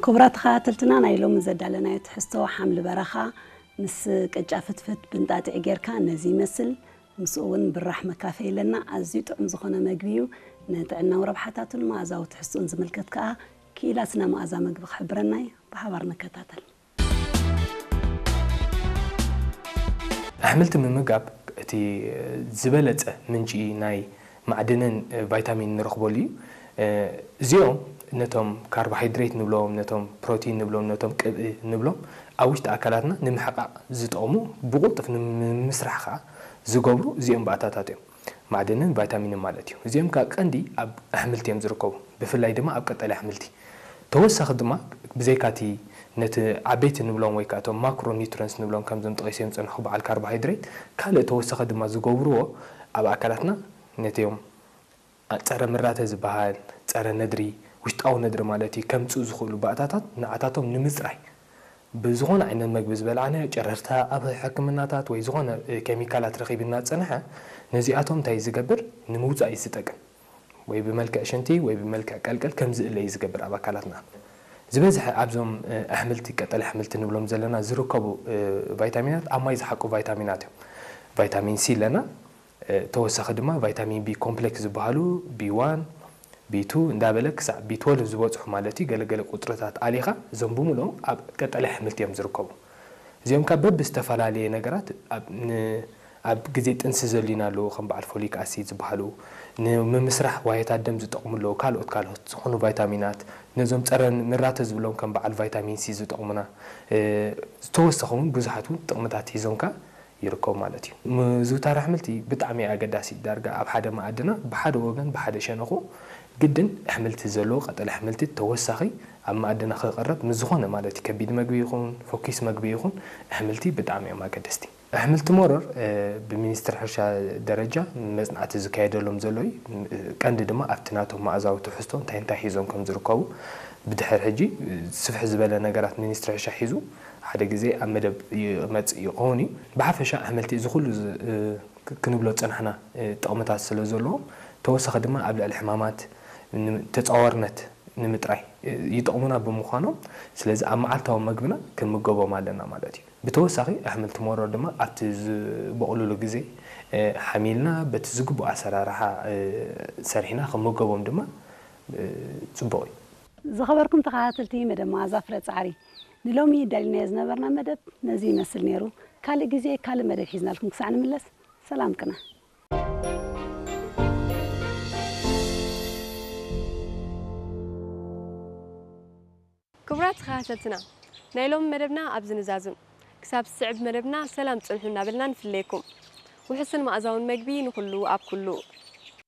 ክቡራት ተኸታተልትና፣ ናይ ሎሚ ዘዳለናዮ ትሕዝቶ ሓምሊ በረኻ ምስ ቅጫ ፍትፍት ብንጣጢዕ ጌርካ ነዚ ይመስል። ምስኡ እውን ብራሕ መካፈይ ኣለና። ኣዝዩ ጥዑም ዝኾነ መግቢ እዩ። ንጥዕናዊ ረብሓታቱን መኣዛዊ ትሕዝቱን ዝምልከት ከኣ ክኢላ ስነ መኣዛ መግቢ ክሕብረና እዩ። ብሓባር ንከታተል። ኣሕምልቲ ምምጋብ እቲ ዝበለጸ ምንጪ ናይ ማዕድንን ቫይታሚን ንረኽበሉ እዩ። እዚኦም ነቶም ካርቦሃይድሬት ንብሎም፣ ነቶም ፕሮቲን ንብሎም፣ ነቶም ቅብኢ ንብሎም ኣብ ውሽጢ ኣካላትና ንምሕቃቕ ዝጠቕሙ፣ ብቕልጡፍ ንምስራሕ ከኣ ዝገብሩ እዚኦም ባእታታት እዮም። ማዕድንን ቫይታሚንን ማለት እዩ። እዚኦም ከኣ ቀንዲ ኣብ ኣሕምልቲ እዮም ዝርከቡ፣ ብፍላይ ድማ ኣብ ቀጠልያ ኣሕምልቲ። ተወሳኺ ድማ ብዘይካቲ ነቲ ዓበይቲ ንብሎም ወይ ከኣ እቶም ማክሮ ኒውትረንትስ ንብሎም ከምዞም ጠቒሰዮም ዝጸንሑ በዓል ካርቦሃይድሬት፣ ካልእ ተወሳኺ ድማ ዝገብርዎ ኣብ ኣካላትና ነቲኦም ጸረ ምራተ ዝበሃል፣ ጸረ ነድሪ፣ ውሽጣዊ ነድሪ ማለት እዩ፣ ከምጽኡ ዝኽእሉ ባእታታት ንዓታቶም ንምጽራይ ብዝኾነ ዓይነት መግቢ ዝበልዓናዮ ጨረርታ ኣብ ሕክምናታት ወይ ዝኾነ እ፣ ኬሚካላት ረኺቡ እናጸንሐ ነዚኣቶም እንታይ ዝገብር ንምውጻእ እዩ ዝጠቅም። ወይ ብመልክዕ ሽንቲ ወይ ብመልክዕ ቀልቀል ከም ዝእለ እዩ ዝገብር ኣብ ኣካላትና። ዝበዝሐ ኣብዞም እ፣ ኣሕምልቲ፣ ቀጠልያ ኣሕምልቲ ንብሎም ዘለና ዝርከቡ እ፣ ቫይታሚናት ኣብ ማይ ዝሓቁ ቫይታሚናት እዮም። ቫይታሚን ሲ ኣለና፣ እ፣ ተወሳኺ ድማ ቫይታሚን ቢ ኮምፕሌክስ ዝበሃሉ ቢ ዋን፣ ቢ ቱ እንዳበለ ክሳዕ ቢ ትወልቭ ዝበጽሑ ማለት እዩ። ገለገለ ቁጽርታት ኣሊኻ እዞም ብምልኦም ኣብ ቀጠልያ ኣሕምልቲ እዮም ዝርከቡ። እዚኦም ካብ በብዝተፈላለየ ነገራት ኣብ ን-፣ ኣብ ግዜ ጥንሲ ዘድልዩና ኣለዉ፣ ከም በዓል ፎሊክ ኣሲድ ዝበሃሉ፣ ንምምስራሕ ዋህዮታት ደም ዝጠቕሙ ኣለዉ፣ ካልኦት ካልኦት ዝኾኑ ቫይታሚናት፣ ነዞም ጸረ ምራተ ዝብሎም ከም በዓል ቫይታሚን ሲ ዝጠቕሙና፣ እ፣ ዝተወሰኹ እውን ብዙሓት እውን ጥቕምታት ሒዞም ከኣ ይርከቡ ማለት እዩ። ምዝውታር ኣሕምልቲ ብጣዕሚ ኣገዳሲ እዩ። ዳርጋ ኣብ ሓደ መኣድና ብሓደ ወገን ብሓደ ሸነኹ ግድን ኣሕምልቲ ዘለዎ ቀጠልያ ኣሕምልቲ ተወሳኺ ኣብ መኣድና ክቐርብ ምስ ዝኾነ ማለት እዩ። ከቢድ መግቢ ይኹን ፈኲስ መግቢ ይኹን ኣሕምልቲ ብጣዕሚ እዮም ኣገደስቲ። ኣሕምልቲ መሮር እ፣ ብሚኒስትሪ ሕርሻ ደረጃ መጽናዕቲ ዝካየደሎም ዘሎ እዩ። ቀንዲ ድማ ኣብቲ ናቶም መኣዛዊ ትሕዝቶ እንታይ እንታይ ሒዞም ከም ዝርከቡ ብድሕር ሕጂ እ፣ ስፍሕ ዝበለ ነገራት ሚኒስትሪ ሕርሻ ሒዙ ሓደ ግዜ ኣብ መደብ ይመጽእ ይኸውን እዩ። ብሓፈሻ ኣሕምልቲ እዚ ኩሉ ዝ-፣ እ፣ ክ-፣ ክንብሎ ዝጸናሕና እ፣ ጥቕምታት ስለ ዘለዎም፣ ተወሳኺ ድማ ኣብ ልዕሊ ሕማማት ን-፣ ተጻዋርነት ንምጥራይ እ፣ ይጠቕሙና ብምዃኖም፣ ስለዚ ኣብ መዓልታዊ መግብና ክንምገቦም ኣለና ማለት እዩ። ብተወሳኺ ኣሕምልቲ መሮር ድማ ኣብቲ ዝበቑሉሉ ግዜ እ፣ ሓሚልና በቲ ዝግቡእ ኣሰራርሓ እ፣ ሰሪሕና ክንምገቦም ድማ እ፣ ጽቡቕ እዩ። ዝኸበርኩም ተኸታተልቲ መደብ መኣዛ ፍረ ጻዕሪ፣ ንሎሚ ደሊናዮ ዝነበርና መደብ ነዚ ይመስል ነይሩ። ካልእ ግዜ ካልእ መደብ ሒዝናልኩም ክሳዕ ንምለስ ሰላም ቅነ። ክቡራት ተኸታተልትና፣ ናይ ሎሚ መደብና ኣብዚ ንዛዙን። ክሳብ ዝስዕብ መደብና ሰላም ጽንሑ እናበልና ንፍለየኩም። ውሑስን መኣዛውን መግቢ ንኹሉ ኣብ ኩሉ።